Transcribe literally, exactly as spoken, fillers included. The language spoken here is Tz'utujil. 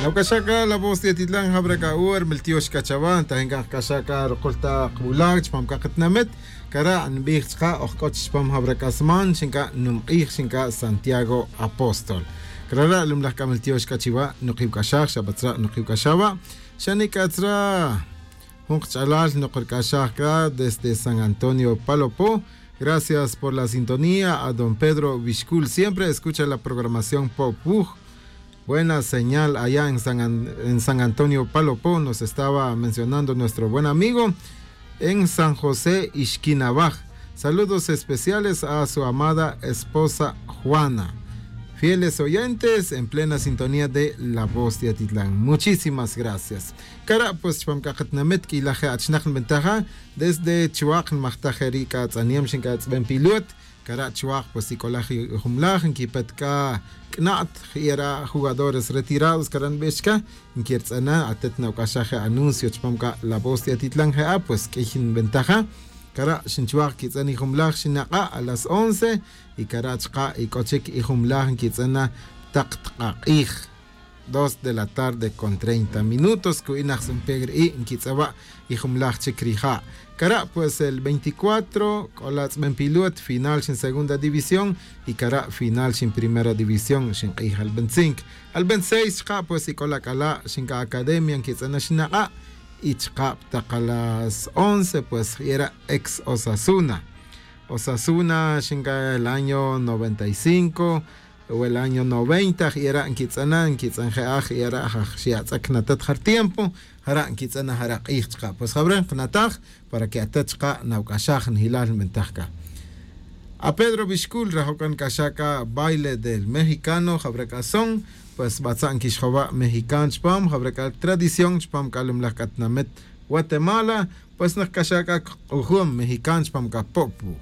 Nawc'axaj c'a la voz de atitlan jabra c'a ur miltiox c'a chawa tajin c'a jc'axaj c'a rukul tak wulaj chupam c'a katinamit. Cara' nbij chaka' oj c'o chupam jabra c'a sman xin c'a numk'ij xin c'a santiago apóstol. Cara' lumlaj c'a miltiox c'a chiwa' nukiwc'axaj xabatzra' nukiwc'axaj wa'. Xani c'a tzra' jun kach'alal nukurc'axaj c'a desde san antonio palopo. Gracias por la sintonía a don pedro vixcul siempre escucha la programación po'puj. Buena señal allá en san antonio palopo nos estaba mencionando nuestro buen amigo en san josé ixquinabaj. Saludos especiales a su amada esposa juana. Fieles oyentes en plena sintonía de la voz de atitlán muchísimas gracias. Cara' pues chupam c'a katinamit q'uilaj je' achinak nbentaja desde chuak' nmajtaj je' ri' c'a tz'aniem xin c'a tz'ben pilot. Cara' chuak' pues ic'olaj ijumlaj nquipet c'a c'nat je' ra' jugadores retirados cara' nbix chca. Nquirtz'ana atet nawc'axaj je' anuncio chupam c'a la voz de atitlan je'a pues q'uiy nbentaja. Cara' xinchuak' quitz'an ijumlaj xinak'a' a las once. Y cara' chaka' ic'o chic ijumlaj nquitz'ana tak tk'ak'ij. Dos de la tarde con treinta minutos cu'in aj san pedro y nquitz'awa' ijumlaj chic rija'. Cara' pues el veinticuatro c'o la tz'ben pilot final xin segunda división. Y cara' final xin primera división xin k'ij al veinticinco. Al veintiseis chaka' pues ic'o la c'ala' xin c'a academia nquitz'ana xinak'a'. Y chaka' tak a las once pues jera' ex osasuna. Osasuna xin c'a el año noventa y cinco o el año noventa jera' nquitz'ana nquitz'an je'aj jera' jaj xi atz'ak natat jar tiempo. Jara' nquitz'ana jara' k'ij chaka' pues jawre' nkanataj para que atat chaka' nawc'axaj njilal nbentaj c'a. A pedro bixcul rajo' c'a nc'axaj c'a baile del mexicano jawre' c'a son pues batza' nquixjowa' mexican chupam jawre' c'a tradición chupam c'a lumlaj c'a tinamit guatemala. Pues nkc'axaj c'a k'ujum mexican chupam c'a po'pu.